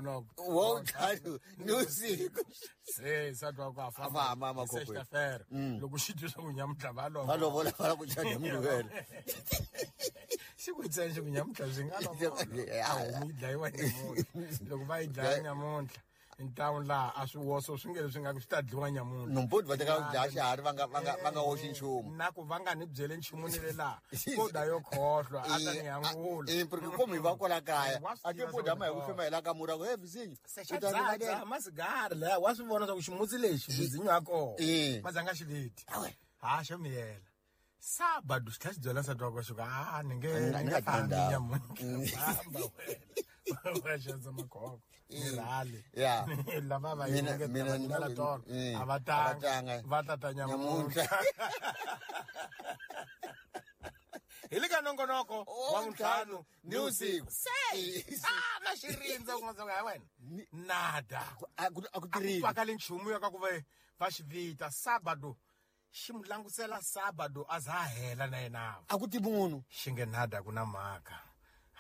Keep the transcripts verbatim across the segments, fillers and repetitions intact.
nongonoko wa ntlhanu ni vusiku se nsati wa ku a famba sexta-feira loko xi twa swa ku nyamuntlha va va lovola va lava ku chada mugqivela xi ku ntsena xi ku nyamuntlha swi nga lovola a homu yi dlayiwa nyamuntlha loko va yi dlaya nyamuntlha ntawu laha a swi woso swi nge leswi nga swi ta dliwa nyamuntlha nomputi va teka ku dlaya xiharhi va nga va nga va nga hoxi nchumu na ku va nga ni byele nchumu ni le laha ko da yo khohlwa a ta ni yangula eh porque como hi va kwala kaya a ti puda ma hi ku fema hi la ka mura ku he vizinyo u ta ni masigari laha wa swi vona swa ku ximutsi lexi vizinyo ya kona ma zanga xiviti ha xo miyela sábado xi tlhela xi byela nsati wa kona xi ku a ni nge ni nge fambi nyamuntlha famba wena wa xandza makhoko ni rhali lava va yingetela tolo a va tanga va tata nyamuntlha hi le ka nongonoko wa vuntlhanu ni vusiku se a na xi rindza ku nga ha wena nada a ku tirhile twakali nchumu ya ka ku va va xi vita sábado xi mu langusela sábado a za hela na yena a ku ti munhu xi nge nada ku na mhaka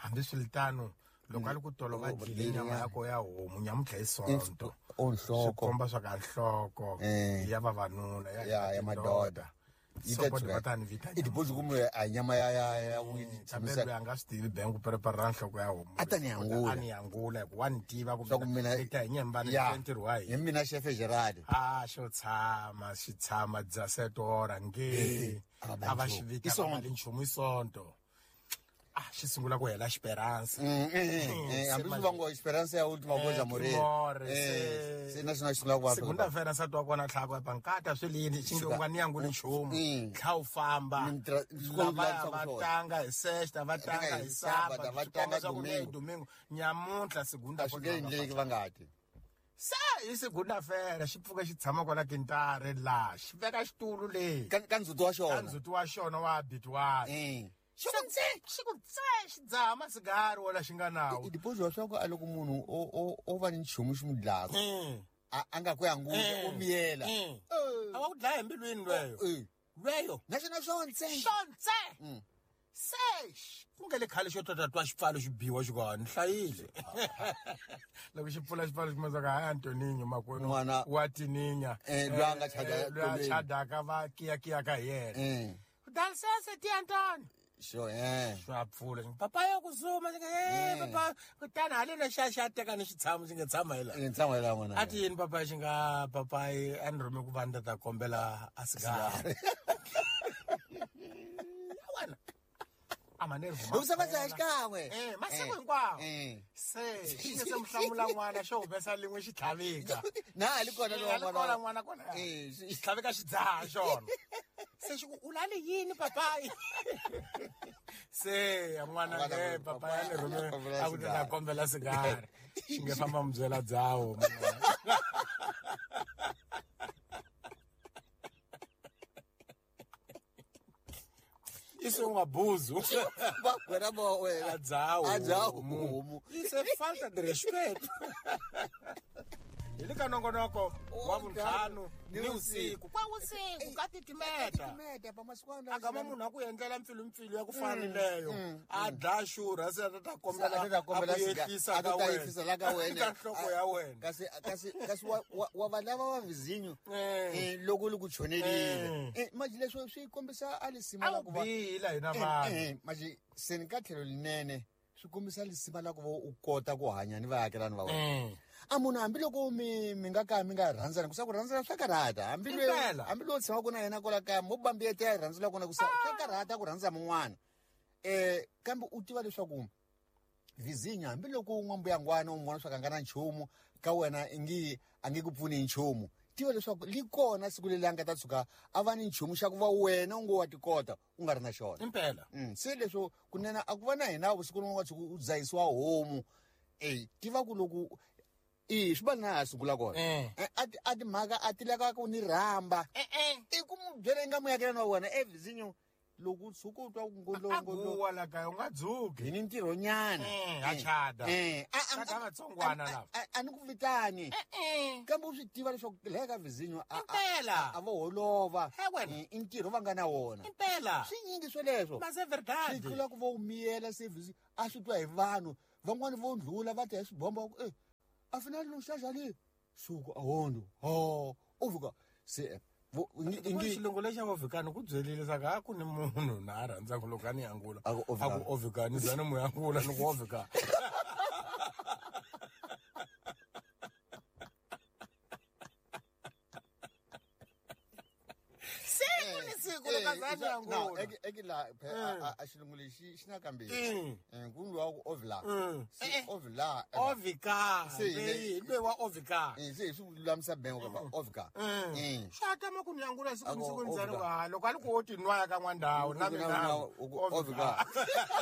hambiswiritano loko a li ku tolo va dlile nyama ya ko ya homu nyamuntlha hi sonto nhloko komba swa ka nhloko ya vavanuna ya ya madoda yi ta tshuka ta ni vita i tibozi kumbe a nyama ya ya ya tshamisa a nga swi tivi bengu prepare nhloko ya homu a ta ni yangula a ni yangula hi ku wa ni tiva ku mina i ta hi nyembani ntirho wa hina hi mina chef Gerard a xo tshama xi tshama dza setora nge a va xi vita va li nchumu i sonto ah xi sungula ku hela Esperança hambi swi va ngo Esperança ya ultima coisa morrer eh se na xi sungula ku va segunda-feira nsati wa kona tlhaka pankata swi lini xi nge u nga ni yanguli nchumu tlha u famba lava va tanga hi sexta va tanga hi sábado va tanga domingo domingo nyamuntlha segunda a swi nge endleki va nga ti se hi segunda-feira xi pfuka xi tshama kwala kintare laha xi veka xitulu leyi ka ka ndzhuti wa xona ka ndzhuti wa xona wa habitual xi ku tse xi ku tse xi dzaha masigari wala xi nga nawo i dipozi wa swa ku a loko munhu o o o va ni nchumu xi mu dlaka a a nga ku yangula o miyela a wa ku dlaya hi mbilwini lweyo lweyo na xona xo ntse xo ntse se ku nge le khale xo tota twa xipfalo xi biwa xi ku ni hlayile loko xi pfula xipfalo xi kuma ka hayi Antoninho makwenu wa tininya loyi a nga chada loyi a chadaka va kiyakiyaka hi yena dá licença tia Antônio Sure, eh. Swa pfula papa ya ku zuma xi eh papa kutani haleno xa xa teka ni xitshamo xi nga tshama hi laha ni tshama hi laha n'wana a ti yini papa xi nga papa a ni rhume ku va ni ta kombela a sigari wena a ma nervo u sa va xikan'we eh masiku hinkwawo se xi nge se muhlamula n'wana xo humesa lin'we xi tlhavika na a li kona lowa n'wana n'wana kona eh xi tlhavika xi dzaha xona se xi ku u lale yini papayi se n'wana nge papayi a ni rhume a ku ta kombela sigari xi nge famba mu byela dzawo Isso é um abuso. Isso é falta de respeito. Ele ka nongonoko wa vuntlhanu ni usiku kwa usiku ka titimeta agama munhu a ku endlela mpfilumpfilu ya ku fana leyo a dlaya xurha se a ta kombela a ta kombela a ku yehlisa a ka ta wena yehlisa la ka wena ka nhloko ya wena kasi kasi kasi wa wa- wa va lava va vizinyo Eh. eh, loko li ku chonelile Eh. Eh, manje leswo swi kombisa a lisima a la wu ku va bihile hina Eh, vanhu eh, manje se ni ka tlhelo linene swi kombisa lisima la ku va u kota ku hanya ni vaakelani va wena Eh. a munhu hambiloko mi mi nga ka mi nga rhandzani ku sa ku rhandzana swa karhata hambi Impela. hambiloko tshamaka na yena kwala kaya mo bambiyete ya rhandzela kona ku sa swa karhata ku rhandza mun'wana eh kambe u tiva leswaku vizinya hambiloko n'wambuyangwana u n'wi vona swa ka nga na nchumu ka wena i ngi a nge ku pfuni hi nchumu tiva leswaku li kona siku leri a nga ta tshuka a va ni nchumu xa ku va wena u ngo wa tikota u nga ri na xona impela Mm, se leswo kunene a ku va na hina vusiku rin'wana wa tshuka u dzahisiwa homu e tiva ku loko i swi va na ha sungula kona Eh. Eh, a ti- a timhaka a ti lava ku ni rhamba Eh, eh. i ku mu byela i nga muyakelani wa wena e vizinyo loko u tshuka u twa ku a ngolongolo guwa la kaya u nga dzuki hi ni ntirho nyana Eh, a chada. Eh, a- a- Chada vatsongwana a- lava. a- a ni ku vitani Eh, kambe u swi tiva leswaku laya ka vizinyo a- a- Impela. a vo holova He wena. Eh, i ntirho va nga na wona impela swi nyingi swoleswo mas é swi verdade tlula ku va u miyela service a swi twa hi vanhu van'wani vo ndlula va ta hi swibomba va ku e Afinal no xaxa le suku awondo ho ovuka se ingi xilungu lexa ovikani ku byelile saka a ku ni munhu na a rhandzaka loko a ni angula a ku ovikani za ni mu angula ni ku ovika. Siku ni siku loko a za ni angula eki la a xilungu lexi xi na kambirhi ku luwa ku ovila se ovila ovika leyi loyi wa ovika se hi swi lulamisa bengo ka ovika xa tama ku ni angula siku ni siku ni za ni ku ha loko a ni ku wo tinwaya ka n'wandhawu na mina ovika.